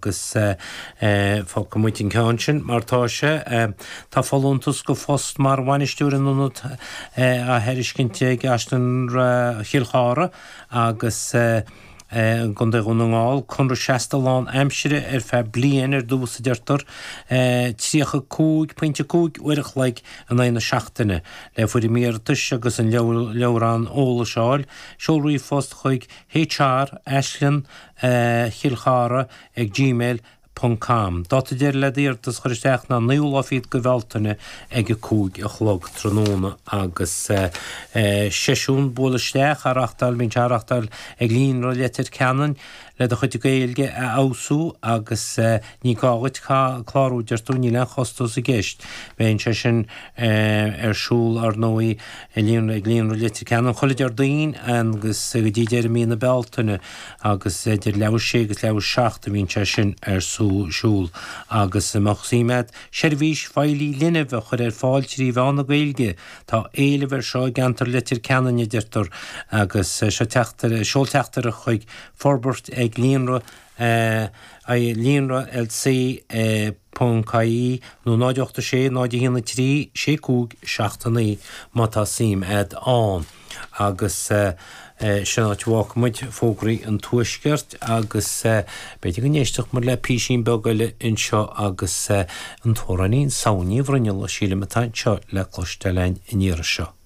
Agus fágfaidh muid an ceann sin mar tá sé. Tá folúntas do phost mar bhainisteoir in ionad á thairiscint ag Áislann Chill Chartha agus i gContae Dhún na nGall. Conradh seasta lán aimsire ar feadh bliain ar dtús a deirtear. 35.5 uair a chloig in aghaidh na seachtaine. Le foirm iarratais agus an leabhrán eolais a fháil, seol ríomhphost chuig HR, Aislann, Chill Chartha ag gmail ponc com. Dáta deiridh le d'iarratas a chur isteach ná naoú lá fichead de Bhealtaine ag 5 a chlog tráthnóna agus seisiún buail isteach á reachtáil, bíonn sé á reachtáil ag Líonra Leitir Ceanainn le do chuid Gaeilge a fheabhsú agus ní gá dhuit clárú deir tú, níl aon chostas i gceist. Bíonn sé sin ar siúl ar ndóigh ag Líonra Leitir Ceanainn chuile Déardaoin agus go dtí deireadh mí na Bealtaine. agus idir leathuair théis 6 agus leathuair théis 7 a bhíonn sé sin ar siúl. Agus an mbeadh suim agat seirbhís feighlí linbh a chur ar fáil trí mheán na Gaeilge? Tá éileamh air seo i gceantar Leitir Ceanainn, a deirtear, agus seo teachtaire, seol teachtaireacht chuig forbairt ag líonra líonra LC ponc ie nó 0 8 6 0 1 3 6 5 7 9 má tá suim agat ann. Agus sin áit a bhfágfaidh muid fógraí an Tuaiscirt agus b'fhéidir go n-éistfeadh muid le písín beag eile anseo agus an t-amhránaí Samhain Ní Bhruinnealla, sílim, atá anseo le cloisteáil againn an iarraidh seo.